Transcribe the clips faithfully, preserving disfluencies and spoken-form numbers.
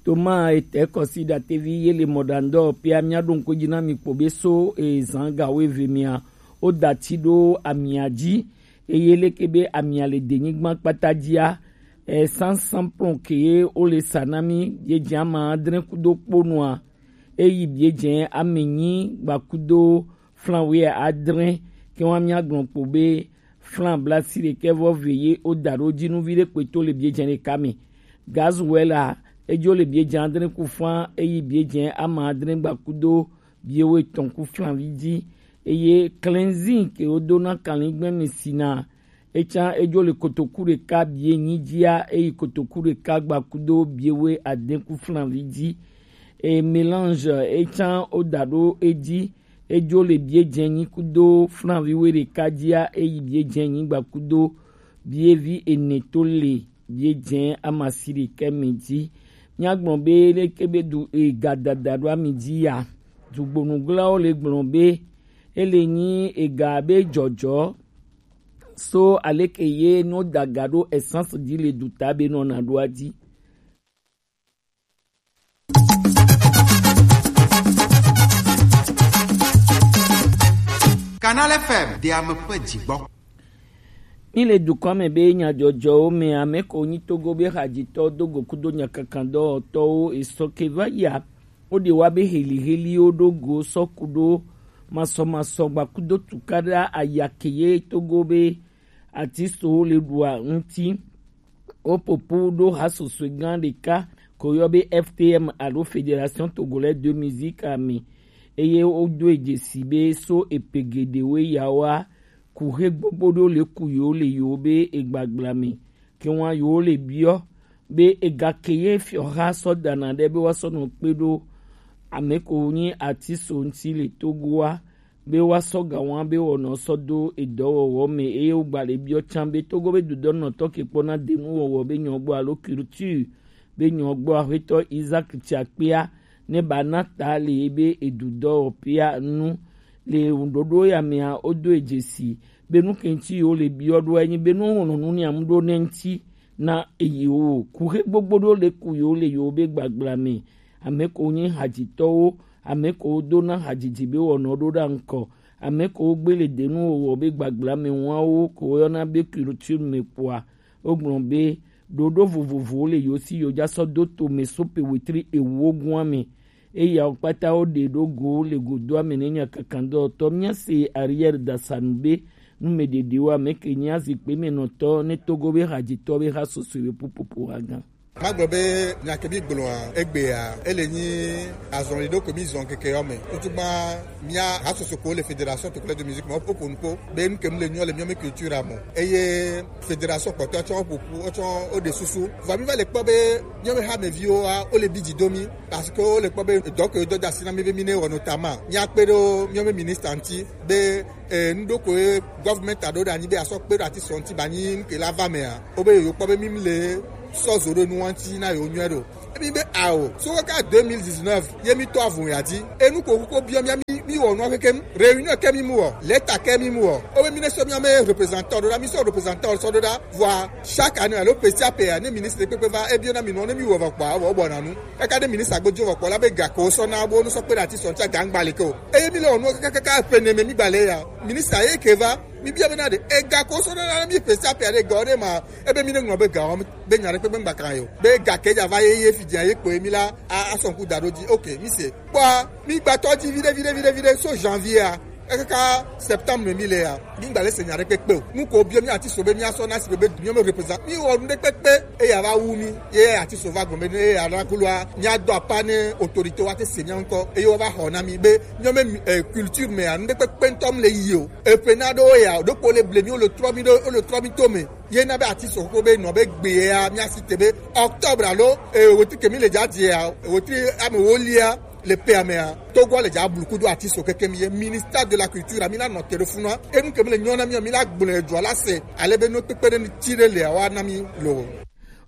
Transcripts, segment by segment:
Toma etɛ kɔsi ɖatevi ye le mɔɖaŋdɔ pia mia ɖo ŋkɔ dzi na mi kpo be so ezan gawo eve mia o dati ɖo amia dzi eye leke be amia le denyigba kpata dzia, e sansan plɔn ke ye o le sa na mi ye dze ama adre kudo kponua eyi bie dze ame nyi gbakudo flan wi adre ke wa mia gblɔ kpo be flan blasi ɖekɛ vɔ ve ye o da ɖo dzi nu vi ɖe kpe to le bie dze ɖeka me. Gazuela edzo le bie dze adre ku flan eyi bie dze ama adre gbakudo bie wo etɔn ku flan vi dzi eye klenzin ke wo do na kanlin gbɛ mi si na etsã edzo le kotoku ɖeka bie nyi dzia eyi kotoku ɖeka gbakudo bie wo ade ku flan vi dzi. E mélange etsã o da ɖo edzi edzo le bie dze nyi kudo flan vi wo ɖeka dzia eyi bie dze nyi gbakudo bie vi ene to le bie dze amasi ɖekɛ me dzi. Mia gblɔ be leke be du ega dada ɖo ami dzi ya. Dugbonuglawo le gblɔ be ele nyi ega be dzɔdzɔ so aleke ye no daga ɖo essence dzi le duta be nɔna ɖo adzi. Canal F M de ame ƒe dzigbɔ. Mi le dukɔ me be nyadzɔdzɔwo me ame ko nyi Togo be hadzitɔ do go kudo nyakakandɔwɔtɔwo esɔ ke va ya. Wo ɖe wa be heliheliwo ɖo go sɔ ku ɖo masɔmasɔ gbakudo tukaɖa ayake ye Togo be atisowo le ɖua ŋuti. Wo popo ɖo hasosoe gã ɖeka ko yɔ be F T M alo Fédération Togolaise de Musique ame eye wodo dzesi be so epe geɖewo yawoa kuxe gbogbo ɖewo le ku yewo le yewo be egbagbla me. Ke wa yewo le biɔ be ega ke ye fiɔha sɔ dana ɖe be woasɔ nɔ kpe ɖo ame ko nyi atiso ŋuti le Togoa be woasɔ ga wa be wɔnɔ sɔ do edɔwɔwɔ me eye wogba le biɔ can be Togo be dudɔnɔtɔ ke kpɔna denuwɔwɔ be nyɔgbɔ alo culture be nyɔgbɔ aƒetɔ Isaac Tsakpea ne ba na ta le ye be edudɔwɔƒea nu le ɖoɖo ya mea wodo edzesi be nu ke ŋuti yewo le biɔ ɖo enyi be nu wɔnɔ nu niam ɖo ne ŋuti na eyiwo kuxe gbogbo ɖo le ku yewo le yewo be gbagbla me. Ame ko nyi hadzitɔwo, ame ko dona hadzidzi be wɔnɔ ɖo ɖa ŋkɔ, ame ko gbe le denu wɔwɔ be gbagbla me wawo ko yɔna be culture me kpoa, wogblɔ be ɖoɖo vovovowo le yewo si yewo dza sɔ do to me so pe wetri ewo gua me. Eyawo kpata wo ɖe ɖo go le godoa me ne nya kakandɔtɔ mía se Ariel Dasanu be nu me ɖeɖewo ame ke nya zikpe me nɔtɔ ne Togo be hadzitɔ be ha soso be pupopo ha gã. Magblɔ be nya ke mi gblɔa egbea ele nyi azɔli ɖo ke mi zɔn keke yɔ me. Wotugba mía hasoso ko le Fédération Togolaise de Musique me woƒo nu kpo be nu ke mu le nyɔ le mía me culture me. Eye fédération kpɔtɔ tsɔ ƒoƒu wotsɔ woɖe susu. Vɔ mi va le kpɔ be mía me hameviwo wa wo le bi dzi do mi parce que wo le kpɔ be dɔ ke do da si na mi be mi ne wɔ notamment mía kpe ɖo mía me ministre ŋuti be eh, nu ɖo ko ye government aɖo ɖe anyi be asɔ kpe ɖo ati sɔ ŋuti ba nyi nu ke la va mea. Wo be yewo kpɔ be mi le sɔ zo ɖo nu ŋuti na yewo nyuie ɖo. Emi be ao so kaka deux mille dix-neuf ye mi tɔ avun ya dzi enu ko ko biɔ mía mi mi wɔ nua kekem réunion ke mi mu wɔ leta ke mi mu wɔ wo be mi ne sɔ mía me représentant ɖo ɖa mi sɔ représentant sɔ ɖo ɖa vɔa chaque année alo petit à petit ne ministre kpekpe va ebiɔ na mi nua ne mi wɔ va kpɔ awɔ bɔ na nu kaka ne ministre agbo dzo va kpɔ la be ga ko sɔ na bo nu sɔ kpe ɖe ati sɔ ŋuti gangba le ke o eye mi le wɔ nua kaka kaka ƒe ne me mi gba le ya ministre ye ke va mi bia be na de ega ko sɔ na mi petit à petit de ga o de ma ebe mi ne ŋlɔ be ga o be nya ɖe kpekpe ŋgba kan yo be ga ke dza va ye ye fi dza ye kpoe mi la a asɔnku da ɖo dzi ok mi se kpɔa mi gba tɔ dzi viɖe viɖe viɖe viɖe so janvier a ekaka septembre mi le ya mi gba le se nya ɖe kpekpe o nu ko biɔ mi ati so be mi asɔ na si be be mi me represent mi wɔ nu ɖe kpekpe eya va wu mi ye ati so va gɔme ne eya la kuloa mi adɔ apa ne autorité wa te se mi ŋkɔ eye wa va xɔ na mi be mi me eh, culture me ya nu ɖe kpekpe ŋtɔ mi le yi o epe na ɖo ya ɖo kpo le ble mi o le trɔ mi ɖo o le trɔ mi to me ye na be ati sɔkpo be nɔ be gbe ya mía si te be octobre alo eh, wetri ke mi le dza dze ya wetri ame wolia le pe amea togo le dza blu kudo ati so keke mi ye ministère de la culture mi la nɔ te ɖo funua enu ke mi le nyɔ na mi mi la gblẽ edzɔ la se ale be no kpekpe ɖe ti ɖe le wa na mi lo.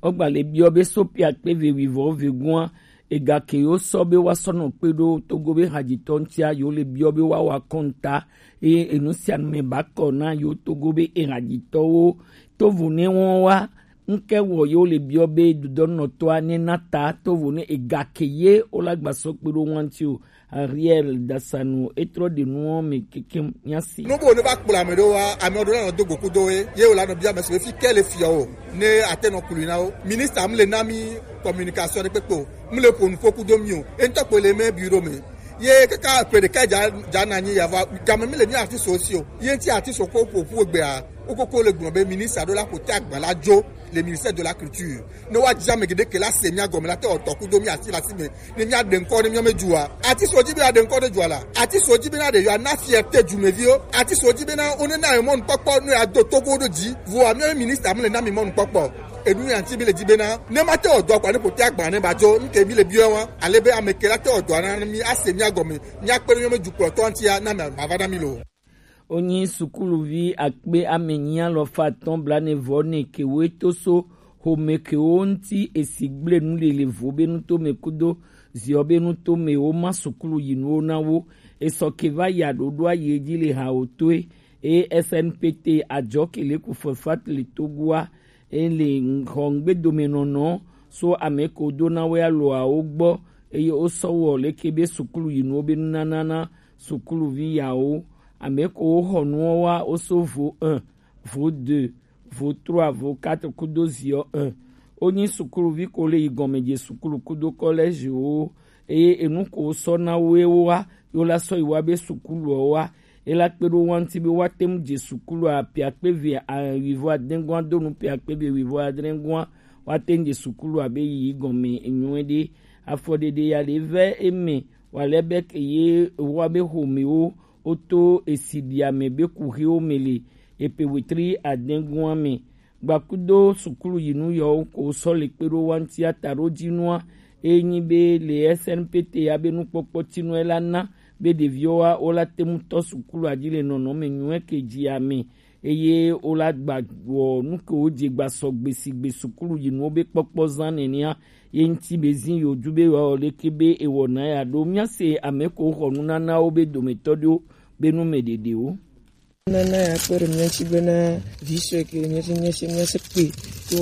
Wogba le biɔ be sopia kpe ve wivɔ ve gua ega ke yo sɔ be wa sɔ nɔ kpe ɖo togo be hadzitɔ ŋutia yo le biɔ be wa wa kɔnta eye enu sia nu me ba kɔ na yo togo be ehadzitɔwo tovo ne wɔn wa Ŋkɛ wɔ ye wo le biɔ be dodɔnɔtɔa ne na ta tovo ne ega ke ye wo la gba sɔ kpe ɖo ŋuti o. Ariel Dasanu etrɔ ɖe nuwo me kekem nya si. Nubo ne va kplɔ ame ɖewo wa, ame ɖewo la nɔ do go kudo ye, ye wo la nɔ bia ame si be fi ke le fiɔ o, ne ate nɔ kului na wo. Ministre mu le na mi communication ɖe kpekpe o, mu le ƒo nuƒo kudo mi o. Entɔ kpo le me bureau me. Ye kaka ƒe ɖeka dza dza na nyi yava game mi le mi artiste aussi o. Ye ŋti artiste ko ƒo ƒu egbea, wo koko le gblɔ be ministre ɖo la ƒo te agba la dzo le ministère de la culture. Ne woadzi ame geɖe ke la se mía gɔme la te wòatɔ kudo mía asi le asi me ne míaɖe ŋkɔ ne míame dua. Ati so dzi be aɖe ŋkɔ ne dua la. Ati so dzi be na ɖe yewoana fierté dumeviwo. Ati so dzi be na wonena ye mɔnukpɔkpɔ ne yeado togo ɖo dzi. Vɔa míawo ministre mele na mi mɔnukpɔkpɔ. Enu ya ŋti mi le dzi be na ne mate wɔ dɔ kɔ ne ƒote agba ne ba dzo ŋke mi le biɔ wa. Ale be ame ke la te wɔ dɔ na mi ase mía gɔme. Míakpe ɖe míame dukplɔtɔ ŋtia na mi ava na mi lo. Wonyi sukuluvi akpe ame enyi alafa atɔ̃ blaene vɔ ene ke woe to so xome kewo ŋuti esi gblẽ nu le le vo be nuto me kudo ziɔ be nuto me woma sukulu yi nuwo na wo. Esɔ ke va yi aɖoɖoa yi edzi le hawo toe, eye S N P T adzɔ ke le ku fefat le Togoa, eye le xɔ ŋgbedomenɔnɔ so ame ko do na wo aloawo gbɔ, eye wosɔ wɔ leke be sukulu yi nuwo be nunana na sukuluvi yawo. Ame ko woxɔ nuwo wa woso vo un, vo deux, vo trois, vo quatre kudo ziɔ un. Wonyi sukuluvi ko le yi gɔmedze sukulu kudo kɔlɛziwo, eye enu ko wosɔ na wo ye wowa, yo la sɔ yi wa be sukuluɔ wa. Ela kpe ɖo wa ŋuti be woate ŋu dze sukulu a piakpe ve a wivɔ adɛngua do nu piakpe ve wivɔ adɛngua, woate ŋu dze sukulu abe yi gɔme nyuie ɖe. Afɔɖeɖe ya le vɛ eme wale be ke ye wa be xomewo woto esi ɖi ame be kuxiwo me le epe wetri adɛngua me. Gbakudo sukulu yi nu yɔwo ko sɔ le kpe ɖo wa ŋuti ata ɖo dzi nua, e nyi be le S N P T ya be nukpɔkpɔ tinu e la na be ɖeviwo wa wo la te ŋu tɔ sukulu adzi le nɔnɔme nyuie ke dzi ame, eye wo la gba wɔ nu ke wo dze gba sɔ gbe si gbe sukulu yi nuwo be kpɔkpɔ zã nenea, ye ŋuti be zi yo ju be wa wɔ leke be ewɔ na ya ɖo. Mía se ame ko xɔ nunanawo be dometɔ ɖewo be nu me ɖeɖewo. Nana ya kpe ɖe mía ŋuti bena vi sue ke le mía si, mía si, mía si kpe to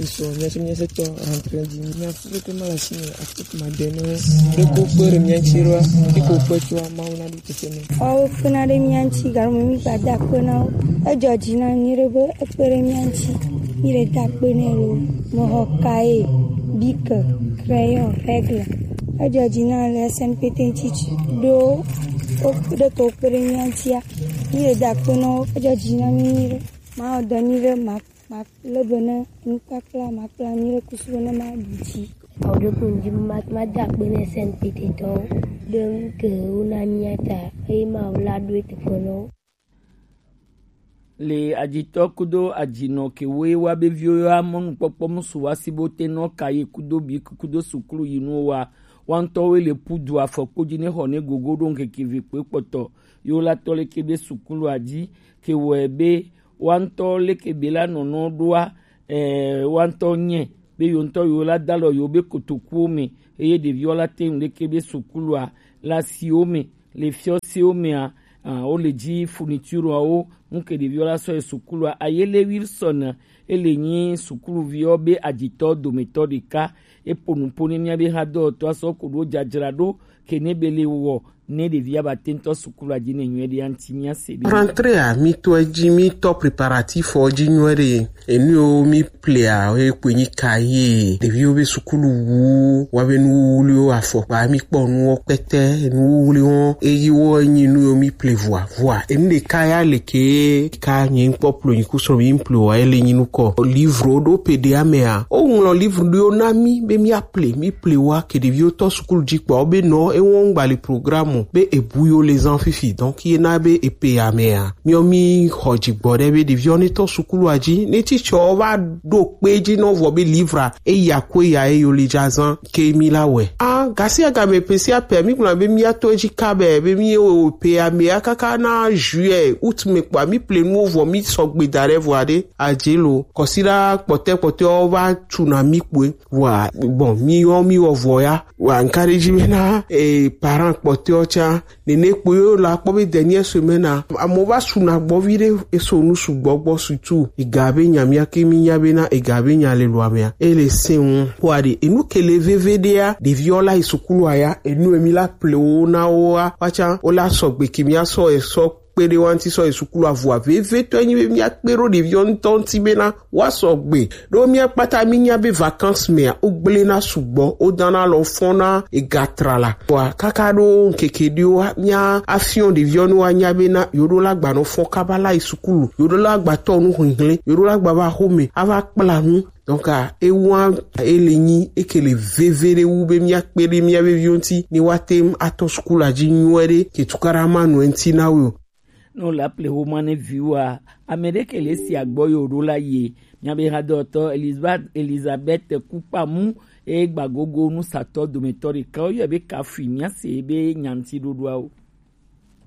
esɔ, mía si, mía si tɔ rentrée dzi. Mía fu ke ma la si me, afu ke ma de ne. Ɖe ko kpe ɖe mía ŋuti ɖoa, ke ko kpe tso Mawu na ɖo tete ne. Awo kpena ɖe mía ŋuti galo me mi gba da kpe na wo. Edzɔ dzi na nyuie ɖe be ekpe ɖe mía ŋuti. Mi le da kpe nɛ lo. Me xɔ cahier, bic, crayon, règle. Edzɔ dzi na le S N P T ŋuti ɖo wo ɖe ke wo kpe ɖe mía ŋutia. Mi le da kpe na wo, edzɔ dzi na mi nyuie ɖe. Ma wɔ dɔ nyuie ɖe, ma, ma le be ne nukpakpla, ma kpla nyuie ɖe kusu be ne ma ɖu dzi. Awo ɖe ko ŋdi ma, ma da kpe ne S N P T tɔwo ɖe ŋke wo na mía ta, eye ma wo la ɖo teƒe na wo. Le ajitɔ kudo ajinɔ ke woe wa be viwo ya mɔnukpɔkpɔ musu wa si bo te nɔ ka ye kudo bi kudo sukulu yi nuwo wa. Wa ŋutɔ woe le pudu afɔkpo dzi ne xɔ ne gogo ɖo ŋkeke ve kpe kpɔtɔ. Yo la tɔ leke be sukulu adzi ke wɔe be wa ŋutɔ leke be la nɔnɔ ɖoa, eh, wa ŋutɔ nye be yo ŋutɔ yo la dalɔ yo be kotokuwo me, eye ɖeviwo la te ŋu leke be sukulua le asiwo me, le fiɔsiwo mea, ah, wo le dzi fournitureawo, ŋke ɖeviwo la sɔ yi sukulua. Ayele Wilson, ele nyi sukuluviwo be ajitɔ dometɔ ɖeka, epo nupo ne mía be hã dɔwɔtɔ asɔ ko ɖo dzadzra ɖo ke ne be le wɔ ne ɖevia ba te ŋutɔ sukulu adzi ne nyuie ɖe anti mía se be. Rentrée a mi to edzi mi tɔ préparatif o dzi nyuie ɖe. Enu yiwo mi plea, ye kpoe nyi cahier, ɖeviwo be sukulu wu, wa be nuwuwluwo, afɔkpa, mi kpɔ nuwo kpɛtɛ, nuwuwluwo, eyi wo nyi nu yiwo mi ple vɔa, vɔa. Enu ɖeka ya le ke ka nye ŋkpɔ plo nyi kusrɔ̃ mi ple wa, ele nyi nukɔ. Livre ɖo pe ɖe amea. O ŋlɔ livre ɖewo na mi, be mi aple, mi ple wa, ke ɖeviwo tɔ sukulu dzi kpɔ, be nɔ, ewɔ ŋgba le programme, be ebu yo le zan fifi, donc ye na be epe amea. Miɔ mi xɔ dzigbɔ ɖe be ɖeviwo ne tɔ sukulua dzi, ne titsɔ va ɖo kpe dzi nɔ vɔ be livre eya ko eya eyo le dza zan ke mi la wɛ. A Gasi agame pesi apɛ mi gblɔ be mi ato edzi ka be be mi o pe ame akaka na juillet août me kpɔ mi ple nuwo vɔ mi sɔgbe da ɖe vɔ aɖe adze lo kɔsi la kpɔtɛ kpɔtɛ va tu na mi kpɔe wa bon mi yɔ mi wɔ vɔ ya wa nka ɖe dzi be na e parent kpɔtɛ tsã nene kpɔe la kpɔ be dernière semaine a amewo va su na gbɔ vi ɖe eso nu sugbɔ gbɔ surtout ega be nya mia ke mi nya be na ega be nya le lo amea ele se ŋu kpɔ aɖe enu ke le veve ɖea ɖeviwo la yi sukulu aya enu emi la ple wo na wo wa watsã wo la sɔgbe ke mia sɔ esɔ kpe ɖe wa ŋuti sɔ yi sukulu avɔa veve tɔ enyi be mia kpe ɖo ɖeviwo ŋutɔ ŋuti be na wa sɔgbe ɖo mia kpata mi nya be vacances mea wo gblẽ na sugbɔ wo dana lɔ fɔ na ega tra la wa kaka ɖo ŋkeke ɖewo mia afiɔ ɖeviwo ne wa nya be na yoɖo la gbanɔ fɔ kaba la yi sukulu yoɖo la gbatɔ nu hihlẽ yoɖo la gbava xome ava kpla nu Donc, ah, ewa ele nyi eke le veve ɖe wu be mia kpe ɖe mia veviwo ŋuti ne woate ŋu atɔ sukulu dzi nyuie ɖe ke tukaɖa ma nɔ eŋuti na wo. Ne wole aple xoma ne viwoa, ame ɖe ke le si agbɔ ye wòɖo la yie. Miabe hadɔtɔ Elizabeth Elizabeth Kukpamu eye gbagogo nusatɔ dometɔ ɖeka woyɔe be Kafui miase be nyantiɖoɖoawo.